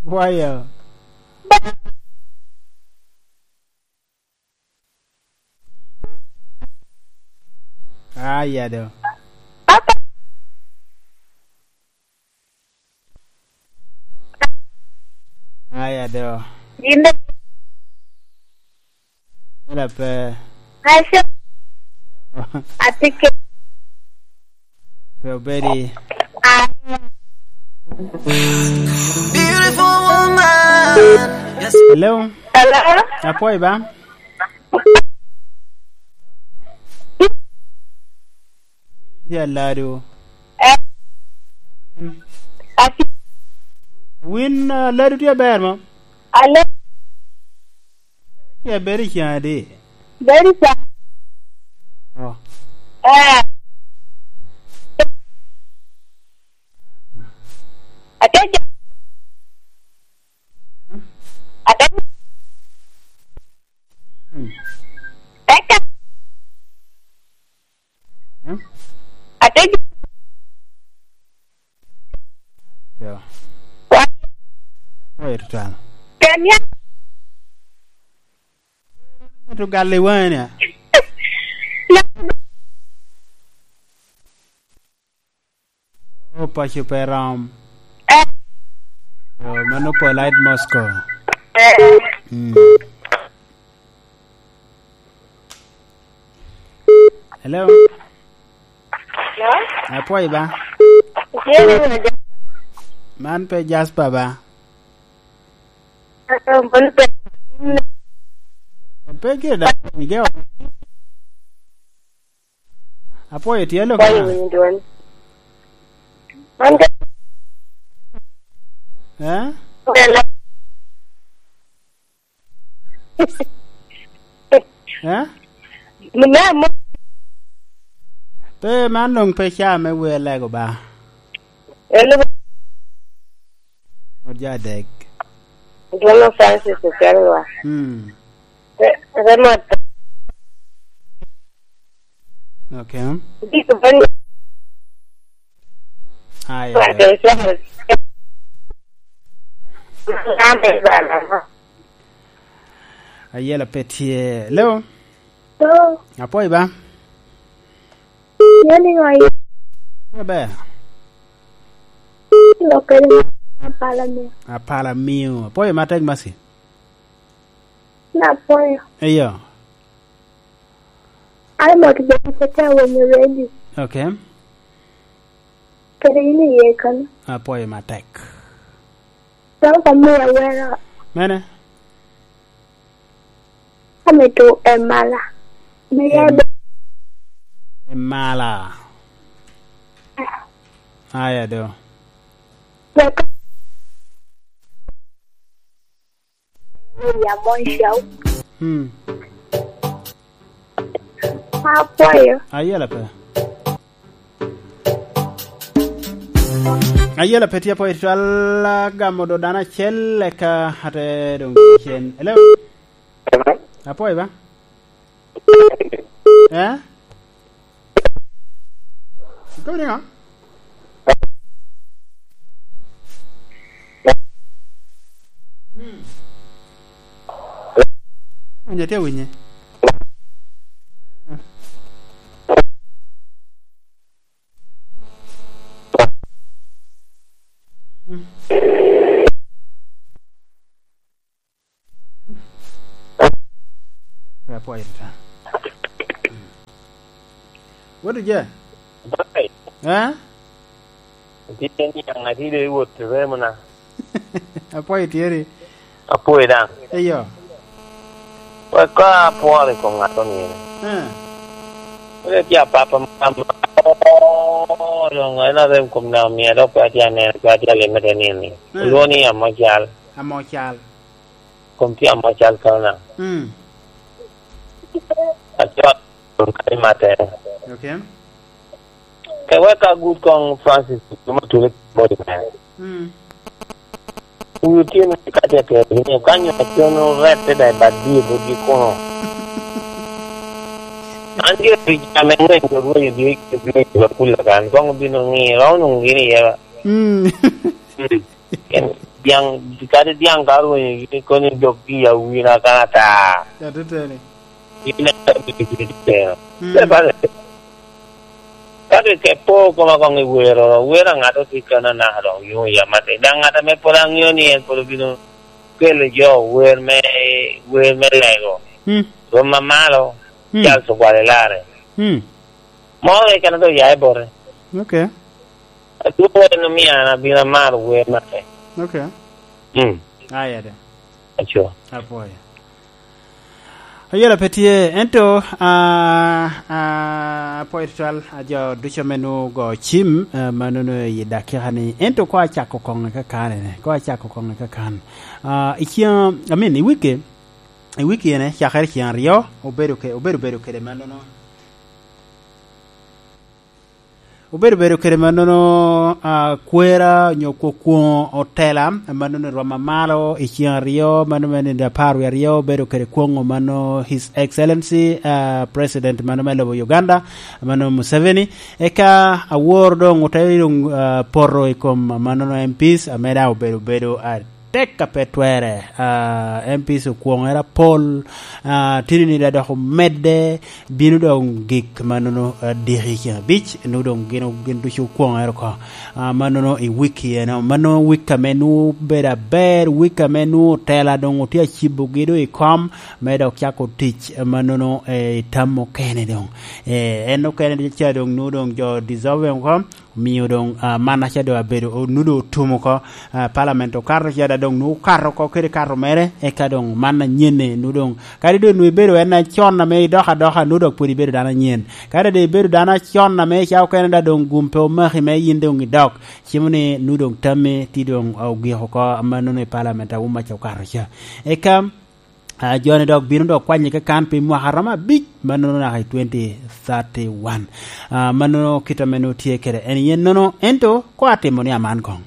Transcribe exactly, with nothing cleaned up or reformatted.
Wayo. Aya do. Papa. Aya do. Ginde. Yela pe. Asha. Atike. Pe obedi. Ah. Beautiful woman. Yes. Hello. Hello. Apoi ba? Ya lado. Eh. Ati. Win uh, lado tia ber mo. Alo. Ya beri chade. Very sad. Oh. Eh. Ate. Ate. Hmm. Eka. Hmm? Ate. Yo. Wa. Wait twal. Kenya. To galle wana. Na. O pacho peram. Eh. Oh, mano polite Moscow. Eh. Hmm. Hello. No. Apoi ba? Jere. Man pe Jasper ba? Bon pe. Pe ke da nige. Apoi tielo Why ka. you doing? Man ka. Eh? Hello. Eh? Mna mo. Pe man long pe cha me we lego ba. Hello. Oja dek. Jono Francis Okelwa. Hmm. Remote. Okay. Dito ba ni Aya. Ate siya? Ame bala. Ayela petie. Hello. Oh, Apoi ba? yoni ngoi Be. lokere apala mi. Apala miu. Apoi matek masi. Na poyo. Eyo. Ai mot be sete wenyo ready. Okay. Kere ini ye kan. Apoi matek. Don ko mi awera Mene? ameto emala. Mi ya Em- Mala. Aya do. be ka. Ya mon show. Hmm. Apoyo. Ayela pe. Ayela pe tia po itwala gamo do dana chelle ka hate dong chen. Hello. Apoi ba? Eh? Ko ni nga? Hmm. Winye te winye. Apoi ta. What did you? Bai, Eh? tieni yang atide wuot remona. Apoi tieri. Apoe dang. Eyo. Wa ka apoare ko ngato ni. Eh. Ule tia papa mama. Oh, dong ena dem kom na mi ado pa tia ne pa tia le mete ni ni. Mm. Lo ni amachal. Amochal. Kom tia amachal ka na. Hmm. Acho kai mate. Okay. Ke wa ka good kong Francis kuma tule body man. Hmm. Uyu tiene ka tia ke ni kanyo tiono rete dai badi bodi kono. Anche rijame ngwe ngwe di di di kula kan kong bino ngi raw nung gini ya. Hmm. Ken Diang kadi diang karo ni koni jogi ya wina kanata. Atetene. Ina Se pare. Kade ke po koma kong i wero wera ngato ti kana na dong yu ya mate. Dang ngata me polang yo ni en polo bino kele jo wer me wer me lego. Mm. Roma malo Mm. jal so kwale lare. Mm. Mo e kana do ya e bore. Okay. Tu no mia na bina mar wer mate. Okay. Mm. Aya de. Acho. Apoya. Ayela petie ento a a apoy twal ajo ducho menu go chim uh, manono yidaki hani ento kwa chako konga ka kane ne kwa chako konga ka kan uh, ikia I mean i wiki i wiki ene chakher chian rio obedo ke obedo bedo kede manono obedo bedo kede manono uh, kwera nyo kwon otela manono roma malo ichian rio mano mene da paru rio obedo kede kwongo mano His Excellency uh, President mano melo Uganda mano Museveni eka awor dong otelo uh, porro ikom manono M Ps ameda obedo bedo uh, teka petwere uh, M Ps kwongo era pol uh, tini ni da doko medde binu dong gik manono uh, diri chiang bich nu dong gino gin duchu kwongo era ko uh, manono i wiki eno mano wika menu beda ber wika menu tela dong otia chibo gido i kom medo chako tich manono e tamo kene dong e eno kene cha dong nu dong jo dissolve ko miyo dong uh, mana cha do abedo nudo tumo ko uh, parliament o karro cha dong nu karro ko kere karro mere e ka dong mana nyene nu dong kadi do nu bedo en chon na me doha doha nu dok puri bedo dana nyen kadi de bedo dana chon na me cha ko da dong gumpe o mahi me yinde ngi dok chimne nu dong tame ti dong o gi ko mano ne parliament a umma cha karro cha e kam Uh, Johnny dog bino dog kwanye ka kan pi mwaka roma bich manono na twenty thirty-one uh, manono kita meno tie kere en yen nono ento ko atimo ni aman kong